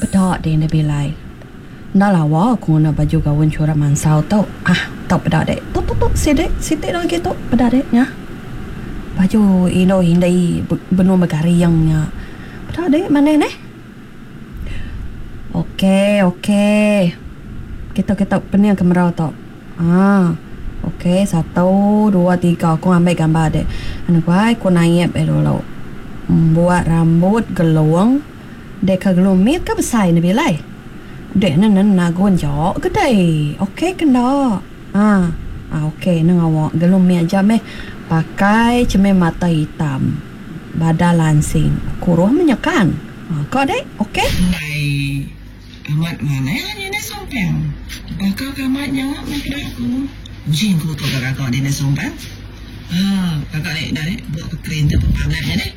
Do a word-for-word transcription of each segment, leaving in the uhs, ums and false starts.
Peda deh enda bilai. Enda lawa aku ngena baju gaun chura mansau tu. Ah, tu peda deh. Tu tu tu sidi siti lagi tu peda deh nya. Baju indu indi benung begaring nya. Peda deh manah neh. Okey okey. Kita kita pening kamera tu. Ah. Okey, satu, dua, tiga. Aku ngambi gambar deh. Anu ku ai ku naip eh dulu. Buat rambut gelung. Dek ke gelung mit ke besai ne bilai. Dek ne ne nagun jok ke dai. Okey ke enda? Ah, ah okey ne ngawa gelung mit aja meh. Pakai cermin mata hitam. Badan lansing. Kuruh menyekan. Ah, kau dek? Okey? Ndai amat manah nya nih sumpang. Baka ke amat nya meh peda aku. Uji aku tu gaga dia nih sumpang. Ha, gaga ni dah ni buat ke keren tu pangat nya nih.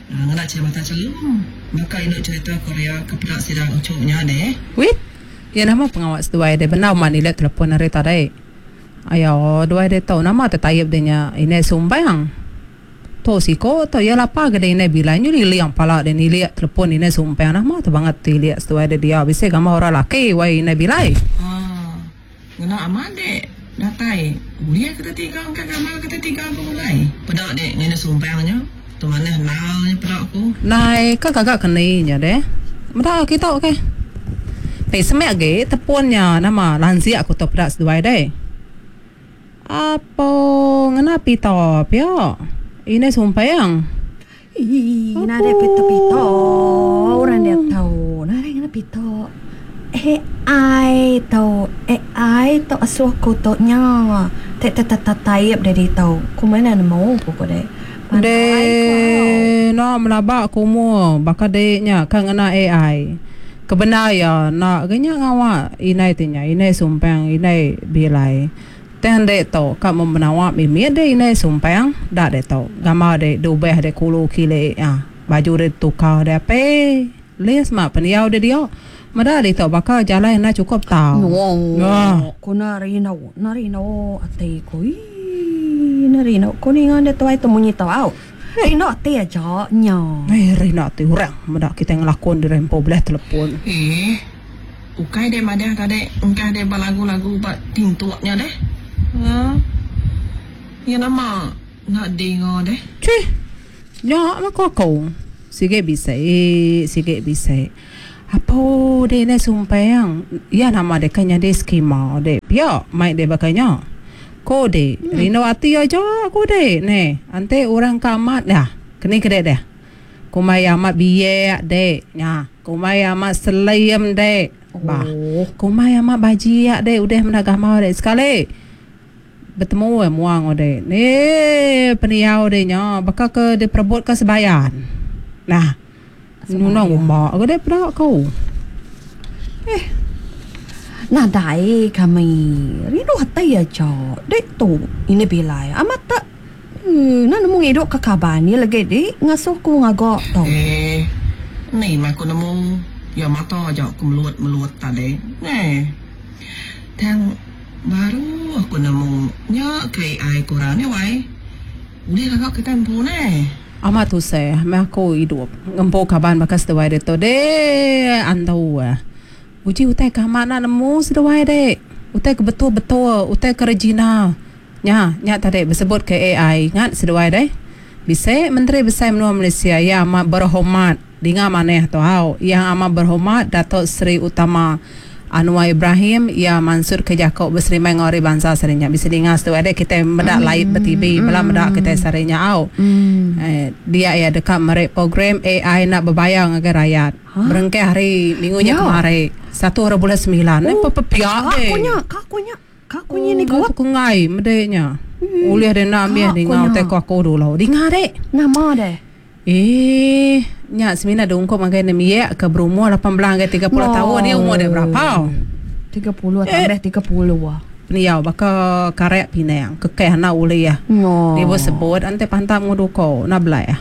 Ngena cerita mata celum. Baka indu cerita Korea ke peda sidang ucuknya deh. Wit. Ya nama pengawak seduai deh benar man nilai telefon hari tadi. Ayo duai deh tau nama tetayap dia nya ini sumbang. Tu siko tu ya lapa ke deh ini bila nyu liang pala deh nilai telefon ini sumbang nama tu banget tiliak seduai deh dia bisa gambar orang laki wai ini bilai. Ha. Ngena aman deh. Datai. Boleh kita tiga angkat gambar kita tiga gulai. Peda deh ini sumbangnya. Tu mana nalnya peda aku. Nai ka gagak keni nya deh. Meda kita okey. Ti semek ge tepunnya nama lansia aku tu peda seduai deh. Apa ngena pita pia? Ini sumpang. Ih, nada pita-pita. Orang dia tahu. Nada ngena pita. A I tu, A I tu asuh ku tu nya. Tek tek tek tek taip dia di tau. Ku mana nemu ku ku dek. Dek, nak melabak ku mu baka dek nya kan ngena A I. Kebenar ya nak genya ngawak inai tinya, inai sumpang, inai bilai. Tang dek tu ka memenawak mimit dek inai sumpang, dak dek tu. Gambar dek dubeh dek kulu kile ah. Baju dek tukar dek ape. Les mak peniau dek dia. Meda dek tu baka jalan nak cukup tau. No. Ku nari no, nari no ati ku. Ih, nari no ku ni ngan dek tuai tu munyi tau. Au. Rino ati aja nya. Eh, rino ati orang meda kita ngelakon di rempo belah telefon. Eh. Ukai dek madah tadi engkah dek belagu-lagu ba tintuknya deh. Ha. Ya nama nak dengar deh. Cih. Nya mak aku. Sige bisa, sige bisa. Apa dek ni sumpang? Ya nama dek kan jadi skema dek. Pia mai dek bakanya. Ko dek, hmm. Rino ati aja aku dek ne. Ante orang kamat dah. Keni ke dek dah. Kumai amat biak dek. Nya, kumai amat selayam dek. Bah. Oh. Kumai amat bajiak dek udah menagama dek sekali. Bertemu eh muang dek. Ni peniau dek nya bakal ke diperebut ke sebayan. Nah. Nuna ngumba ke dek peda kau. Eh. Nadai kami rindu hati aja. Dek tu ini bilai amat tak. Hmm, nak nemu ngiduk ke kaban ni lagi dik ngasuh ku ngagak tau. Eh, ni mah aku nemu ya mata aja aku meluat-meluat tadi. Neh. Tang baru aku nemu nya K I kurang ni wai. Boleh agak kita empu neh. Amat tu saya, meh aku hidup ngempu kaban bakas seduai dia tu deh antau ah. Uji utai kamat nak nemu seduai dek. Utai ke betul-betul, utai ke Regina. Nya, nya tadi bersebut ke A I. Ingat seduai deh. Bisa Menteri Besar Menua Malaysia yang amat berhormat. Dengar maneh tu hau. Yang amat berhormat Datuk Seri Utama Anwar Ibrahim yang mansur ke Jakob berserimai ngori bangsa sarinya. Bisa dengar seduai dek kita medak mm. live ber-T V, bela medak kita sarinya au. Mm. Eh, dia ya dekat merek program A I nak berbayar dengan rakyat. Huh? Berengkai hari minggunya Ya. kemarin. Satu hari bulan sembilan. Eh, Oh, pepiak deh. Kakunya, kakunya, kakunya ni Oh, kuat. aku ngai medeknya. Ulih dia nak ambil Kakunya. dengar teko aku dulu. Dengar dek. Nama deh. Eh, nya semina dungkop makai nemiak ke berumur lapan belas hingga tiga puluh No. tahun ni umur dia berapa? Tiga puluh tambah tiga puluh ah. Peniau baka karek Pinang, kekeh nak ulih ya. No. Dia sebut ante pantam nguduko nak belai ah.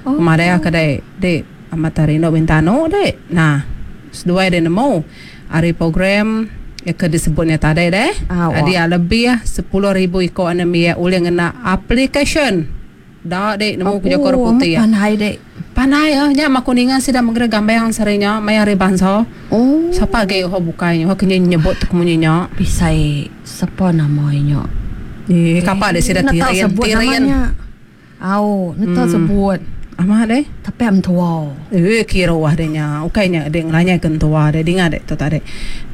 Oh. Kemarin aku dek dek amat hari no bintano dek. Nah, seduai dia nemu hari program ya ke disebutnya tadi deh. Ah, wah. Dia lebih sepuluh ribu ikut anemia ulih ngena application. Dak dek nemu kerja kor putih ya. Pandai dek. Pandai ah, nya maku ninga sida mengeri gambang sarinya maya hari bangsa. Oh. Siapa agi ho bukai nya, ho kena nyebut tu kemunyinya. Bisai siapa namanya? Eh, kapak dia sida Nak tahu tirin, sebut tirin. namanya. Au, nak tahu sebut. Amat deh. Tapi am tua. Eh, kira wah dia nya. Ukainya dia ngelanya kentua dia dengar dek tu tadi.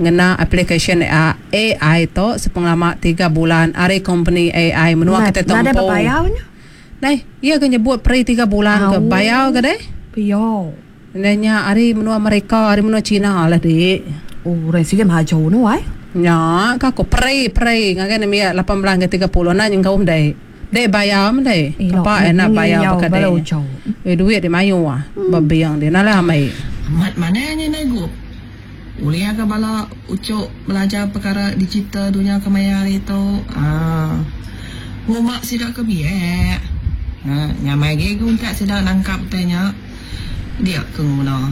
Ngena application A I tu sepenglama tiga bulan ari company A I menua kita Nak ada tempo. berbayarnya? Nah, iya ke nyebut pre tiga bulan ke Au. bayar ke deh? Piyo. Nanya ari menua mereka, ari menua Cina lah dek. Oh, resi ke maju ni wai. Nya, ka aku pre pre ngagai ni lapan belas ke tiga puluh nak nyengkaum dek. Dek bayar mah dek. Apa enak bayar pakai dek. Eh duit di mayu ah. Babiang dia nalah amai. Amat mananya nagup. Ulia ke bala ucuk belajar perkara digital dunia kemaya hari tu. Ah. Ngumak sidak ke biak. Ha, nyamai ge guntak sidak nangkap tanya. Dia ke nguna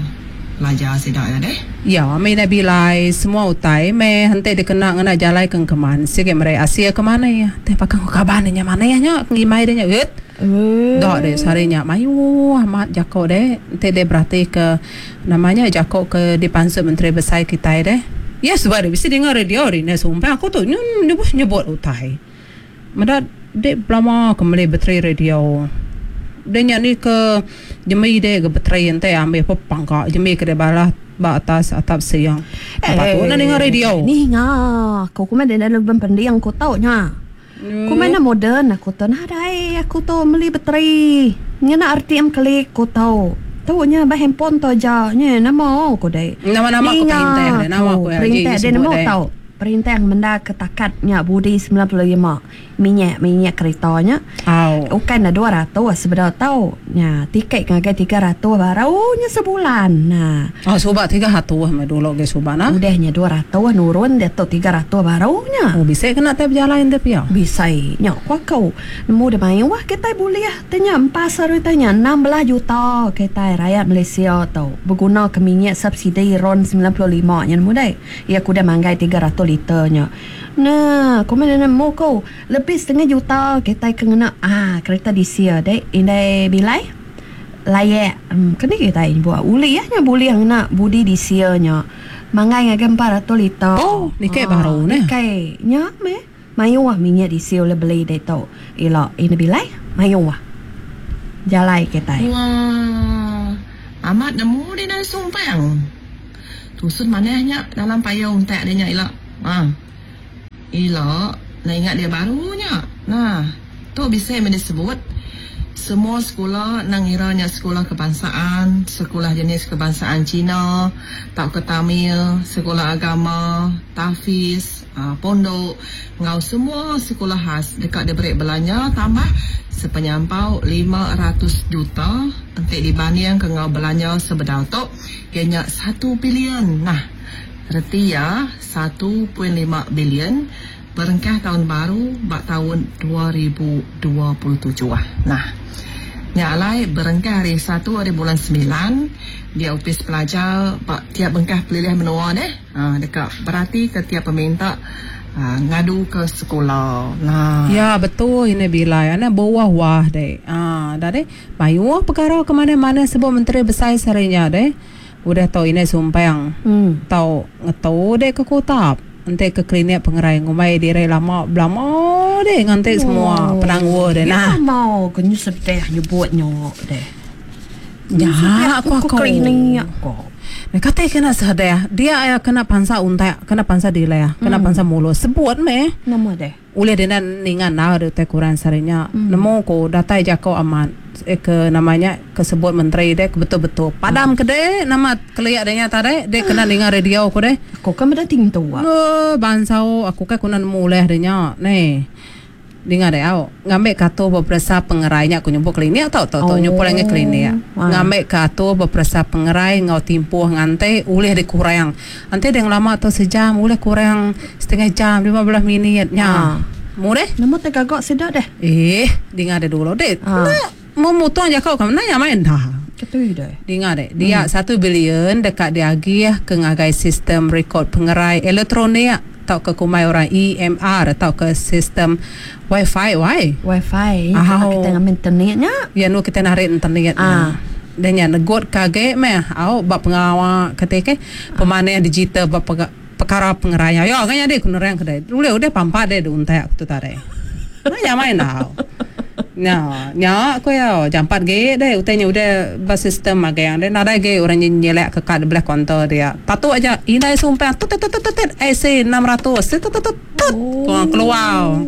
belajar sidak ya deh. Ya, mai nabi lai semua utai me hante dikena ngena jalai keng keman. Sige mere Asia ke mana ya? Teh pakang kaban nya mana ya nya ngimai dia nya. Et. Eh. Dok deh sarinya mayu amat jako deh. Ente deh berarti ke namanya jako ke di pansut menteri besar kita deh. Ya sebab dia bisa dengar radio ni nah, sumpah aku tu nyebut nyebut utai. Mada dek lama kembali bateri radio. Dia nya ni ke jemi deh ke bateri ente ambil apa pangkak jemi ke dia balah ba atas atap siang. Apa tu nak dengar radio? Ni nga, aku ku main dalam pendiang ku tau nya. Ku main moden aku tu nah dai aku tu beli bateri. Ngena R T M klik ku tau. Tau nya bah handphone tu aja nya nama ku dai. Nama-nama aku perintah deh, nama aku perintah dia nama tau. Perintah yang benda ketakatnya budi sembilan puluh lima minyak minyak keretanya. Oh. Bukan dah dua ratus sebenar tau. Nya tiket ngagai tiga ratus barunya sebulan. Nah. Oh subak tiga ratus mah dulu ge subak nah. Udahnya dua ratus nurun dia tu tiga ratus barunya. Oh bisa kena tap jalan dia pia. Bisa. Nya kuah kau nemu dia main wah kita boleh tanya empat seru tanya enam belas juta kita rakyat Malaysia tau berguna ke minyak subsidi RON sembilan puluh lima nya nemu dai. Ya aku dah manggai tiga ratus liternya. Nah, kau mana nemu kau lebih setengah juta kita kena ah kereta diesel dek indai bilai layak hmm, kena kita buat uli ya nya boleh nak budi dieselnya mangai ngagai empat ratus liter. Oh, ni kayak baru ni. Kai nya me mayu ah minyak diesel le beli dek tu. Elok ini bilai mayu ah. Jalai kita. Wah, amat nemu dia dah sumpang. Tusun manehnya dalam payung tak dia nya elok. Ha. Elok, nak ingat dia barunya. Nah, tu bisa yang disebut semua sekolah nang iranya sekolah kebangsaan, sekolah jenis kebangsaan Cina, tak ke Tamil, sekolah agama, tahfiz, uh, pondok, ngau semua sekolah khas dekat dia beri belanja tambah sepenyampau lima ratus juta untuk dibanding ke ngau belanja sebedau tu kena satu bilion. Nah, reti ya satu perpuluhan lima bilion berengkah tahun baru bak tahun dua ribu dua puluh tujuh. Nah, nya alai berengkah hari satu hari bulan sembilan dia upis pelajar bak tiap bengkah pilihan menua deh. Ha, dekat berarti ke tiap peminta ha, ngadu ke sekolah. Nah. Ya betul ini bila ana bawah wah deh. Ah, dah deh. Mayu perkara ke mana-mana sebab menteri besar sarinya deh. Udah tau ini sumpang. Hmm. Tau ngetau deh ke kota. Nanti ke klinik pengerai ngumai diri lama belama deh nganti oh. Semua penangguh deh. Nah, ya, mau kena sedih nyebutnya deh. Ya, aku aku klinik aku. Nah, kata kena sedih, dia kena pansa untai, kena pansa dile, kena hmm. pansa mulut. Sebut meh. Nama deh. Ulih dia ningan nah ada teh kurang sarinya. Hmm. Nemu ko datai jako aman. Eh, ke namanya kesebut menteri deh betul-betul padam hmm. ke deh nama keliak dehnya tadi deh kena dengar radio aku deh. Aku kan dah tinggi tua. Eh bansau aku kan kuna nemu leh dehnya nih. Dengar deh au ngambil kartu beperesa pengerainya aku nyebut klinik atau tau tau nyebut lagi klinik. Ngambil kartu beperesa pengerai ngau timpuh ngante ulih dikurang. Nanti dia lama atau sejam ulih kurang setengah jam lima belas minitnya. Mu deh. Nama teh gagak sedak deh. Eh, dengar deh dulu deh. Memotong je kau kamu nanya main dah. Ketui deh. Dengar deh. Dia satu bilion dekat dia agih ke ngagai sistem rekod pengerai elektronik atau ke kumai orang E M R atau ke sistem Wi-Fi, why? Wi-Fi. Kalau kita ngambil internetnya. Ya, nu kita narik internetnya. Ah. Denya negut kage meh au ba pengawa ketika pemanah digital ba perkara pengeraya. Ya kan jadi ku nerang kedai. Dulu udah pampat deh untak aku tu tadi. Nah main dah. Nya, nya aku ya jampat ge deh utainya udah ba sistem magang deh nadai ge orang nyelek ke kad belah konter dia. Patut aja indai sumpah tut tut tut tut A C enam ratus tut tut tut tut keluar.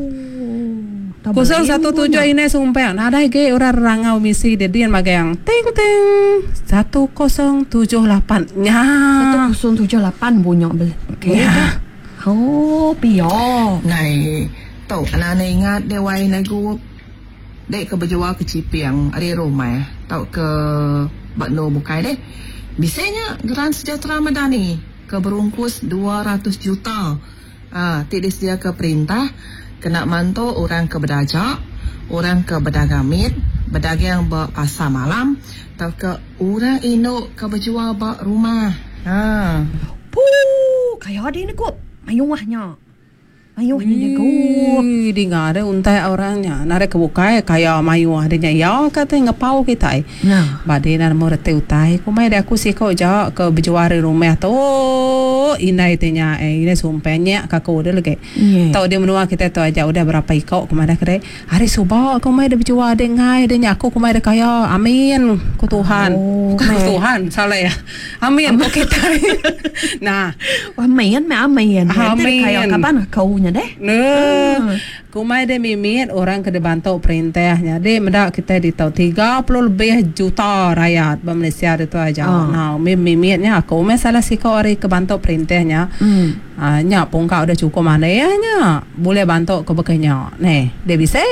Kosong satu tujuh ini sumpah nadai ge orang rangau misi dia dia magang ting ting satu kosong tujuh lapan nya satu kosong tujuh lapan bunyi bel. Okey. Oh, pio. Nai tu anak ingat dia wai nagu dek ke berjual ke Ciping ari rumah tau ke bakno bukai deh. Bisanya Geran Sejahtera Madani ke berungkus dua ratus juta. Ah, ti disediakan perintah kena mantu orang ke berdajak, orang ke berdagang mit, berdagang ba pasar malam, atau ke orang induk ke berjual ba rumah. Ha. Puh, kaya dia ni kok mayuahnya. Mayuh ni dia gup. Dengar ada untai orangnya. Nare kebukai kaya mayuh dia ya kata ngepau kita. Nah. Bade nak mau reti utai. Ku mai aku siko ja ke berjual di rumah tu. Inai tanya eh ini sumpahnya kaku dia lagi. Yeah. Tahu dia menua kita tu aja udah berapa ikok ke mana kedai. Hari subah ku mai dia berjual dia ngai dia nyaku ku mai dia kaya. Amin ku Tuhan. Oh, ku Tuhan salah ya. Amin ku kita. Nah, amin meh amin. Amin. Kaya kapan kau nya deh. Nah, kumai de mimit orang ke dibantu perintahnya. De mendak kita di tau tiga puluh lebih juta rakyat ba Malaysia itu aja. Oh. Nah, mimimitnya aku me salah siko ari ke bantu perintahnya. Hmm. Ah, nya pungkau udah cukup mana ya nya. Boleh bantu ke bekenya. Neh, dia bisa.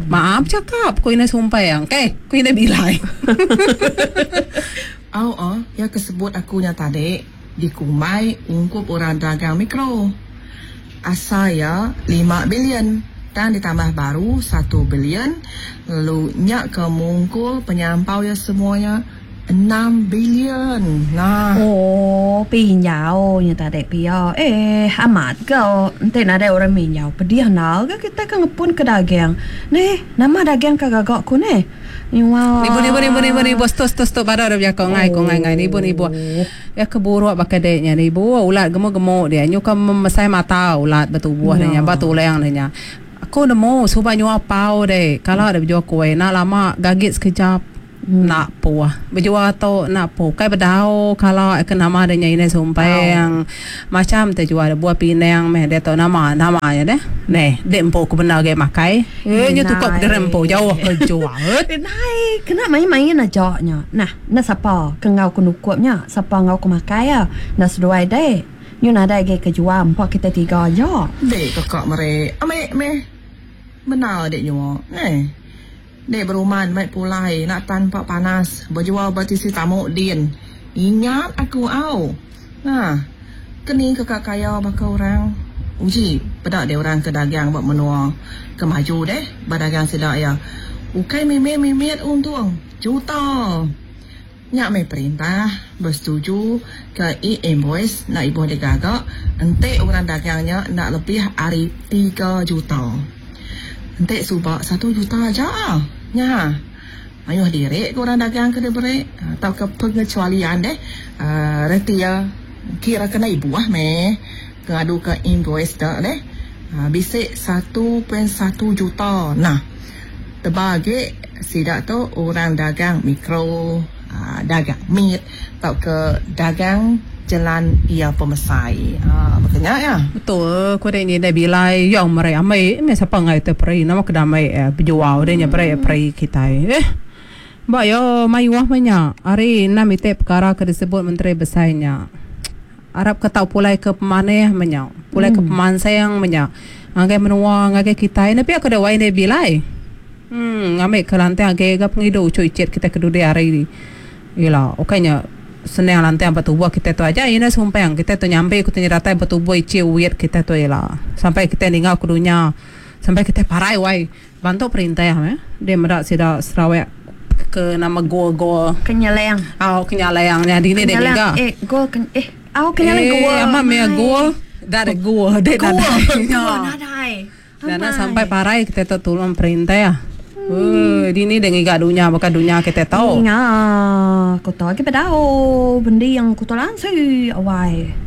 Maaf cakap, ku ini sumpah yang. Okey, ku ini bilai. Oh, oh, ya kesebut akunya tadi di kumai ungkup orang dagang mikro. Asal ya lima bilion dan ditambah baru satu bilion lalu nyak ke mungkul penyampau ya semuanya enam bilion. Nah. Oh, pinjau nya tadi pia. Eh, amat ke ente ada orang minjau. Pedih nal ke kita ke ngepun ke dagang. Neh, nama dagang ke gagak ku neh. Nibu nibu nibu nibu nibu stop stop stop pada ada bercakap ngai ko ngai ngai nibu nibu. Ya keburuk pakai deknya nibu ulat gemuk-gemuk dia nyuka memesai mata ulat bertubuh dia batu tulang dia. Aku nemu suba nyua pau deh. Kalau ada berjual kuih nak lama gagit sekejap. Hmm. Nak puah berjual tu nak puah kai bedau kalau ke nama dia ini sumpah oh. Macam terjual ada buah pinang meh dia tahu nama nama ya deh neh dek empo ku benar ge makai eh nya tukar derempo jauh ke jual nai kena main-main aja nya nah na siapa ke ngau ku nukupnya siapa ngau ku makai ya na seduai deh nyu nadai ge ke jual empat kita tiga aja dek kakak mere ame me benar dek nyu neh Dek beruman baik pulai nak tanpa panas berjual bertisi tamu din. Ingat aku au. Nah, keni kakak kaya bakal orang. Uji pedak dia orang ke dagang buat menua ke maju deh berdagang sedak ya. Ukai mimit-mimit untung juta. Nyak mai perintah bersetuju ke e-invoice nak ibu dia gagak entik orang dagangnya nak lebih hari tiga juta. Entik subak satu juta aja. Nya. Ayuh direk ke orang dagang ke dia beri atau ke pengecualian deh. Uh, reti ya kira kena ibu ah meh. Ke adu ke invoice dak deh. Uh, bisik satu perpuluhan satu juta. Nah, terbagi sidak tu orang dagang mikro, uh, dagang mit atau ke dagang jalan ia pemesai. Ha, maknanya ya. Betul, ku ni dah bilai yang mere amai me siapa ngai te peri nama kedamai eh berjual dia nya peri peri kita. Eh. Ba yo mayuah banyak. Hari enam ite perkara ke disebut menteri besarnya. Arab ke tau pulai ke pemaneh banyak. Pulai hmm. ke pemansang banyak. Ngagai menua ngagai kita tapi aku dah wai ne bilai. Hmm, ngambil ke lantai ngagai ke pengidu cuy cit kita ke dunia hari ni. Yalah, okaynya senang lantai bertubuh kita tu aja ini sumpah yang kita tu nyampe kita nyeratai bertubuh ici weird kita tu ialah sampai kita ninggal ke dunia sampai kita parai wai bantu perintah ya dia merak sida Sarawak ke nama gua-gua kenyaleng oh kenyaleng nya di ni dia ninggal eh gua eh oh kenyaleng gua eh ama me gua dari gua dia nadai dan sampai parai kita tu tolong perintah ya. Eh, dini deh ngiga dunya baka dunya kita tau. Nga, aku tahu lagi bedau bendi yang ku lansi awai.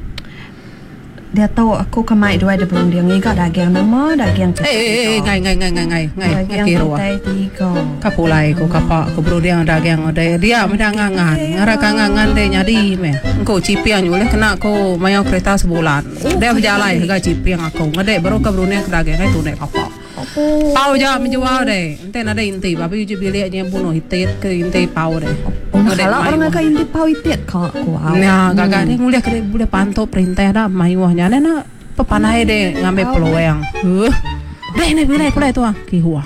Dia tahu aku kemai dua ada berunding ngiga daging nama daging Eh, eh, eh, ngai ngai ngai ngai ngai ngai daging kira. Kitai tiga. Kapulai ko kapak ko berunding daging ode. Dia meda ngangan. Ngara ka ngangan de nyadi meh. Engko cipiang nyulih kena ko mayau kereta sebulan. Dia berjalai ga cipiang aku. Ngedek baru ka berunding ke daging ai tunek kapak. Oh. Pau ja menjual deh. Ente nada inti, babi uji biliknya bunuh itit ke inti pau deh. Oh, kalau orang ngaka inti pau itit ka aku. Nah, gagak deh nguliah ke boleh pantau perintah dah mayuhnya. Nah, pepanai deh ngambil peluang. Huh. Deh ni bilai pulai tu ah. Kihua.